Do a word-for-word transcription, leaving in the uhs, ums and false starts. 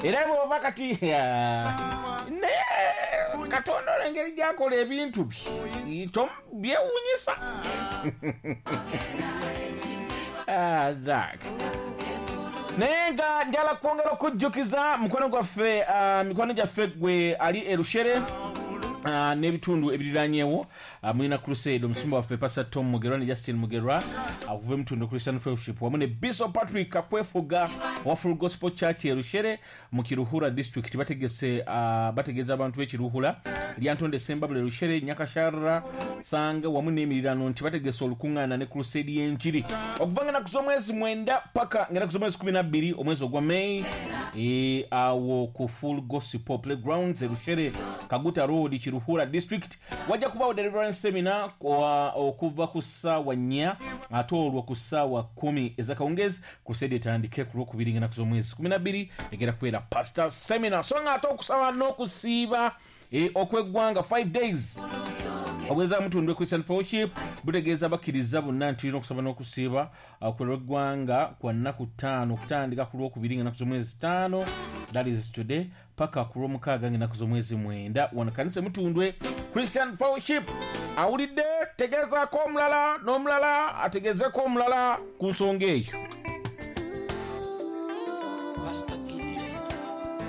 Era bw'oba kati naye Katonda olw'engeri gy'akola ebintu bye byewuunyisa. Ah, Zack. Naye nga njala kwongera okujjukiza mukwano gwaffe, uh, mikwano gyaffe gwe ali e Rushere uh, n'ebitundu ebiriranyeewo, uh, mulina crusade. Omusumba waffe Pastor Tom Mugerwa ne Justin Mugerwa okuva uh, emutundu Christian Fellowship wamu ne Bishop Patrick Kakwefuga owa Full Gospel Church e Rushere mu Kiruhura District bategese uh, bategeeza abantu b'e Kiruhura, Lyantonde, Sembabule, Rushere, Nyakasharra, Sanga wamu n'emirirano nti bategese olukuŋŋaana ne crusade y'enjiri okuva nga ennaku z'omwezi mwenda paka nga ennaku z'omwezi kumi na bbiri omwezi ogwa May, e, awo ku Full Gospel Playgrounds e Rushere, Kaguta Road, Kiruhura District. Wajja kubaawo deliverance seminar okuva ku ssaawa nnya ate olwo ku ssaawa kumi ez'akawungeezi crusade etandike ku lwokubiri nga ennaku z'omwezi kumi na bbiri egenda kubeera pastor seminar. So nga ate okusaba n'okusiiba e, okw'eggwanga five days obweza Mutundwe Christian Fellowship butegeeza bakkiriza bonna nti tulina okusaba n'okusiiba okw'eggwanga kwa nnaku ttaano okutandika ku lwokubiri nga ennaku z'omwezi ttaano, that is today, paka ku lwomukaaga nga ennaku z'omwezi mwenda wano kanisa Mutundwe Christian Fellowship. Awulidde, tegeezaako omulala n'omulala ategeezeko omulala ku nsonga eyo. Pastor